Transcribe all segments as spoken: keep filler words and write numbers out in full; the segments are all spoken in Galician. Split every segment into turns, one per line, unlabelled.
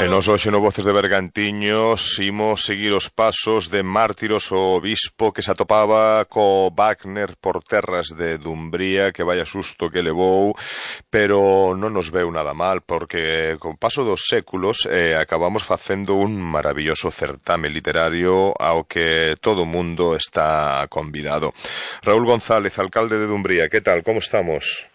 E nos hoxe no Voces de Bergantiños imos seguir os pasos de Mártiros, o bispo que se atopaba co Wagner por terras de Dumbría, que vaya susto que levou, pero non nos veu nada mal, porque con paso dos séculos eh, acabamos facendo un maravilloso certame literario ao que todo o mundo está convidado. Raúl González, alcalde de Dumbría, que tal, como estamos?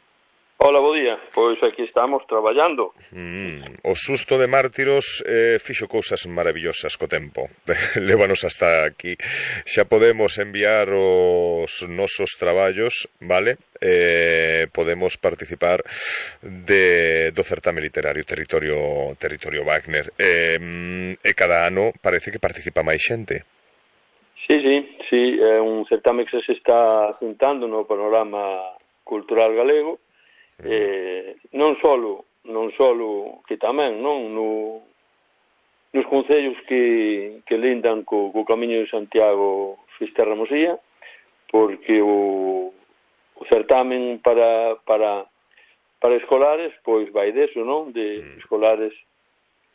Hola, bo día. Pois aquí estamos traballando.
Mm, o susto de Mártiros eh, fixo cousas maravillosas co tempo. Lévanos hasta aquí. Xa podemos enviar os nosos traballos, vale? Eh, podemos participar de, do certame literario Territorio, Territorio Wagner. Eh, e cada ano parece que participa máis xente.
Sí, sí, sí. É un certame que se está juntando no panorama cultural galego. Eh, non solo non solo que tamén non no, nos concellos que, que lindan co, co Camiño de Santiago Fisterra Mosía, porque o, o certamen para para para escolares pois vai deso, non? De escolares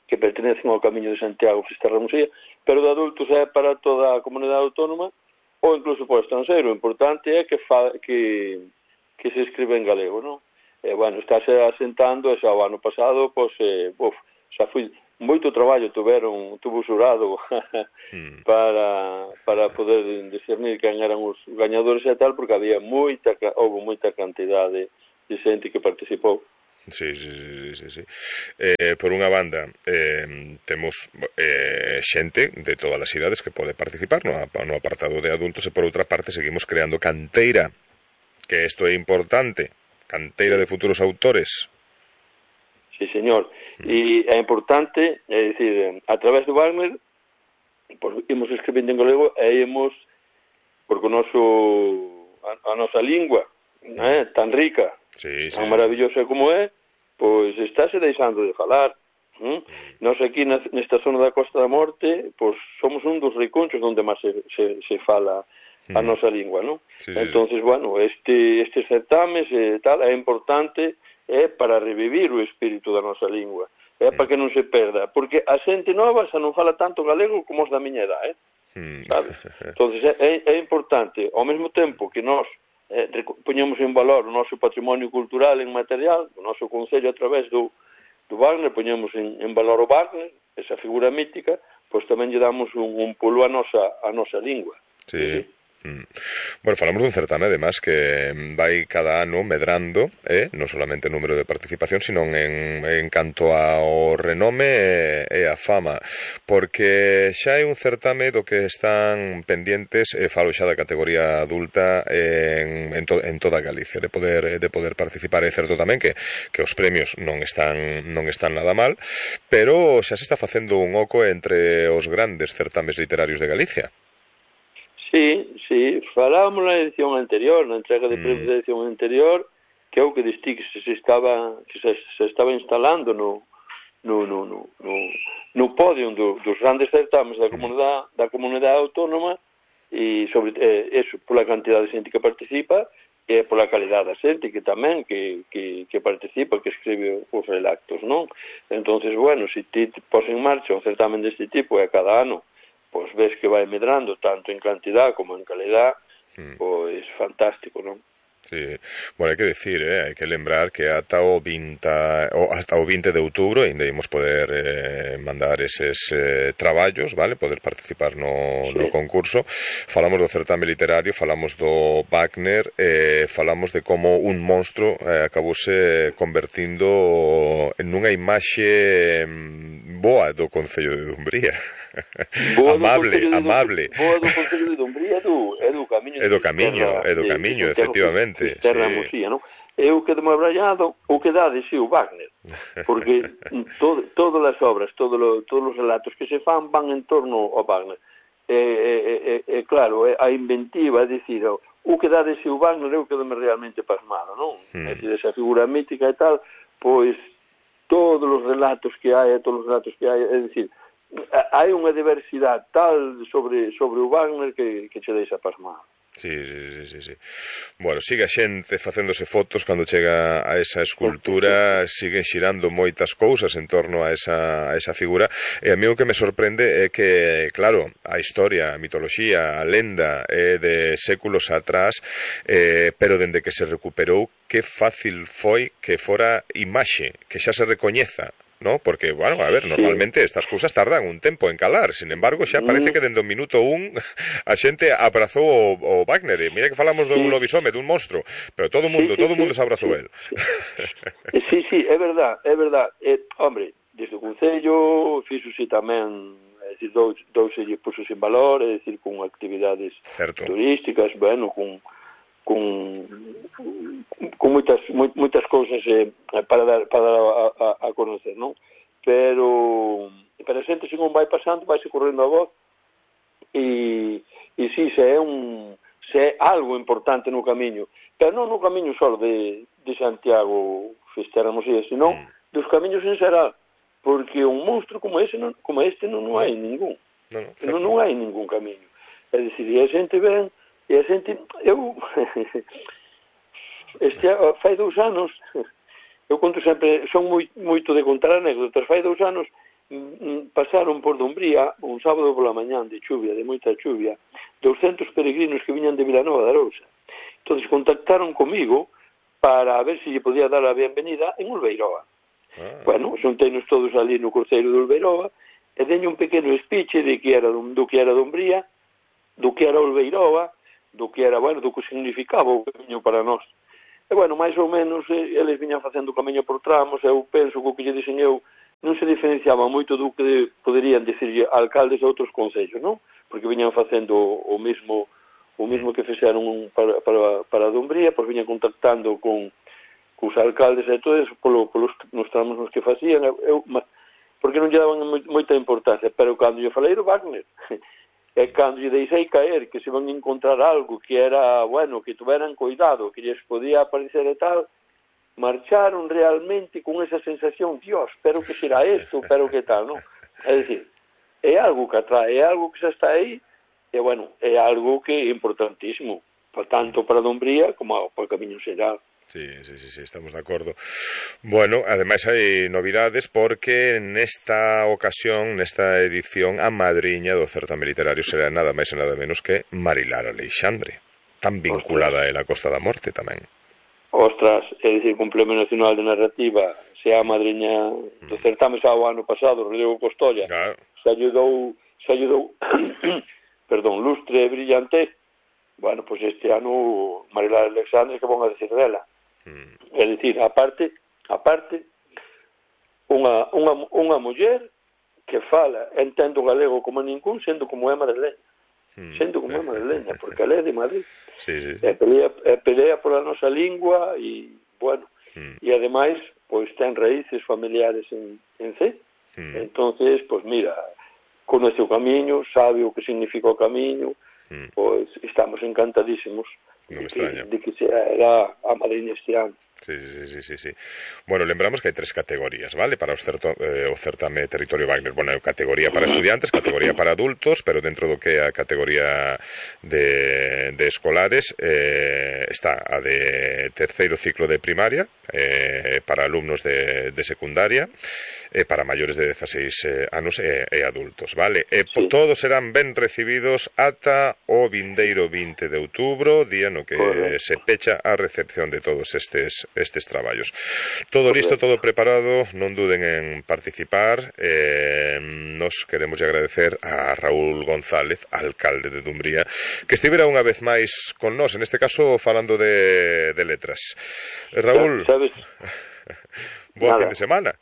que pertenecen ao Camiño de Santiago Fisterra Mosía, pero de adultos é para toda a comunidade autónoma ou incluso para o estranxeiro. O importante é que fa, que que se escribe en galego, non? E, bueno, estáse asentando, e xa o ano pasado, pois, eh, uf, xa foi moito traballo, tuveron, tuvo xurado mm. para, para poder discernir quen eran os gañadores e tal, porque había moita, houve moita cantidade de xente que participou.
Sí, sí, sí, sí, sí. Eh, por unha banda, eh, temos eh, xente de todas as idades que pode participar no, no apartado de adultos, e por outra parte seguimos creando canteira, que isto é importante. Canteira de futuros autores.
Sí, señor. E é importante, é dicir, a través do Wagner, pues, imos escribindo en galego e imos, porque o noso, a, a nosa lingua, eh, tan rica,
sí, sí,
tan maravillosa como é, pois estáse deixando de falar. ¿Mm? Nós aquí nesta zona da Costa da Morte, pois somos un dos riconchos onde máis se, se, se fala a nosa lingua, non?
Sí, sí,
entonces, sí. Bueno, este estes certames e eh, tal é importante é para revivir o espírito da nosa lingua, é para que non se perda, porque a xente nova xa non fala tanto galego como os da miña edad, eh? Sabes? Entonces é, é importante, ao mesmo tempo que nós eh, poñemos en valor o noso patrimonio cultural en material, o noso concello a través do, do Wagner, poñemos en, en valor o Wagner, esa figura mítica, pois tamén lle damos un, un pulo a nosa, a nosa lingua.
Sí. Sí. Mm. Bueno, falamos dun certame, además, que vai cada ano medrando, eh? non solamente o número de participación, sino en, en canto ao renome e, e a fama, porque xa é un certame do que están pendientes, e falo xa da categoría adulta en, en, to, en toda Galicia, de poder de poder participar. É certo tamén que, que os premios non están non están nada mal, pero xa se está facendo un oco entre os grandes certames literarios de Galicia.
Sí, sí, falábamos na edición anterior, na entrega de premios mm. da edición anterior, que é o que distí que se estaba que se, se estaba instalando no no no no no, no podio do, dos grandes certames da comunidade da comunidade autónoma, e sobre eh, eso, pola cantidad de xente que participa e pola calidade da xente que tamén que, que, que participa, que escribe os relatos, non? Entonces, bueno, se ti pos en marcha un certamen deste tipo e cada ano pois ves que vai medrando tanto en cantidad como en calidad, mm. pois fantástico, non?
Sí, bueno, hai que decir, eh, hai que lembrar que ata o vinte, o hasta o vinte de outubro ainda imos poder eh, mandar eses eh, traballos, vale, poder participar no, sí. no concurso. Falamos do certame literario, falamos do Wagner, eh, falamos de como un monstro eh, acabouse convertindo en unha imaxe boa do Concello de Dumbría.
Boa
amable,
do
amable.
Do, boa do Concello de Dumbría, do, é do Camiño.
É do Camiño, é do Camiño, de, efectivamente.
Terra sí. Mosía, non? É o que de abrallado, o que dá de si o Wagner, porque todo, todas as obras, todo lo, todos os relatos que se fan van en torno ao Wagner. É, é, é, é claro, é a inventiva, é dicir, o que dá de si o Wagner é o que dame realmente pasmado, non? Hmm. É dicir, esa figura mítica e tal, pois todos os relatos que hai, todos os relatos que hai, é dicir, hai unha diversidade tal sobre sobre o Wagner que, que che deixa pasmado.
Sí, sí, sí, sí. Bueno, sigue a xente facéndose fotos cando chega a esa escultura, siguen xirando moitas cousas en torno a esa, a esa figura, e a mí o que me sorprende é que, claro, a historia, a mitoloxía, a lenda é de séculos atrás, eh, pero dende que se recuperou, que fácil foi que fora imaxe, que xa se recoñeza, ¿no? Porque, bueno, a ver, normalmente estas cousas tardan un tempo en calar, sin embargo, xa parece que dende o minuto un a xente abrazou o, o Wagner, e mira que falamos dun sí. lobisome, dun monstro, pero todo o mundo, sí, sí, todo o mundo sí, se abrazou sí. el.
Sí, sí, é verdad, é verdad. Eh, hombre, desde o Concello fixose tamén, é dicir, dous, dous se lle puxos en valor, é dicir, con actividades Certo. turísticas, bueno, con con con moitas moitas cousas eh, para dar para dar a, a, a conocer, non? Pero pero a xente según vai pasando, vai se correndo a voz e e si se é un se é algo importante no camiño, pero non no camiño só de de Santiago festéramos e senón mm. dos camiños en xeral, porque un monstro como ese non, como este non, non hai ningún. Non, non, non hai ningún camiño. É dicir, e a xente ven e a xente, eu este, fai dous anos eu conto sempre, son moi, moito de contar anécdotas, fai dous anos m, pasaron por Dumbría un sábado pola mañán de chuvia, de moita chuvia, douscentos peregrinos que viñan de Vilanova de Arousa. Entonces contactaron comigo para ver se lle podía dar a bienvenida en Olveiroa. Ah. Bueno, xunteinos todos ali no cruceiro de Olveiroa e deño un pequeno speech de que era do, do que era Dumbría, do que era Olveiroa, do que era, bueno, do que significaba o camiño para nós. E, bueno, máis ou menos, eh, eles viñan facendo o camiño por tramos, eu penso que o que lle dixen eu non se diferenciaba moito do que poderían dicir alcaldes de outros concellos, non? Porque viñan facendo o mesmo o mesmo que fixeron para, para, para Dumbría, pois viñan contactando con cos alcaldes e todo eso, polo, polos, nos tramos nos que facían, eu, porque non lle daban moita importancia, pero cando lle falei do Wagner, e cando lle deixei caer que se van a encontrar algo que era, bueno, que tuveran cuidado, que lles podía aparecer e tal, marcharon realmente con esa sensación, Dios, pero que será esto, pero que tal, non? É dicir, é algo que atrae, é algo que xa está aí, e, bueno, é algo que é importantísimo, tanto para Dumbría como para o Camiño Xeral.
Sí, sí, sí, sí, estamos de acordo. Bueno, ademais hai novidades porque nesta ocasión, nesta edición, a madriña do certame literario será nada máis e nada menos que Marilar Aleixandre, tan vinculada a la Costa da Morte tamén.
Ostras, é dicir, que un Premio Nacional de Narrativa se a madriña do certame xa o ano pasado, Rodrigo Costolla, claro. se ayudou, se ayudou, perdón, lustre e brillante. Bueno, pois pues este ano Marilar Aleixandre, que van a decir dela? Mm. É dicir, aparte, aparte unha, unha, unha muller que fala, entendo galego como ningún, sendo como é madrileña, mm. sendo como é madrileña, porque ela é de Madrid, sí, sí, sí. E pelea, e pelea pola nosa lingua e, bueno, mm. e ademais, pois ten raíces familiares en, en C, mm. entonces, pois mira, conoce o camiño, sabe o que significa o camiño, mm. pois estamos encantadísimos.
Non me extraña.
De que será a madriña este ano.
Sí, sí, sí, sí, sí. Bueno, lembramos que hai tres categorías, vale? Para os certo, eh, o certame Territorio Wagner. Bueno, categoría para estudiantes, categoría para adultos, pero dentro do que é a categoría de, de escolares eh, está a de terceiro ciclo de primaria, eh, para alumnos de, de secundaria, eh, para maiores de dezaseis eh, anos e, e adultos, vale? E sí. Todos serán ben recibidos ata o vindeiro vinte de outubro, día no que Correcto. Se pecha a recepción de todos estes estes traballos. Todo listo, todo preparado, non duden en participar. Eh, nos queremos agradecer a Raúl González, alcalde de Dumbría, que estivera unha vez máis con nós, en este caso falando de, de letras. Eh, Raúl,
sabes,
boa fin de semana.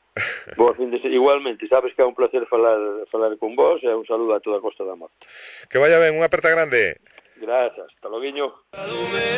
Boa fin de semana, igualmente, sabes que é un placer falar, falar con vos e un saludo a toda a Costa da Morte.
Que vaya ben, unha aperta grande.
Gracias, hasta logo.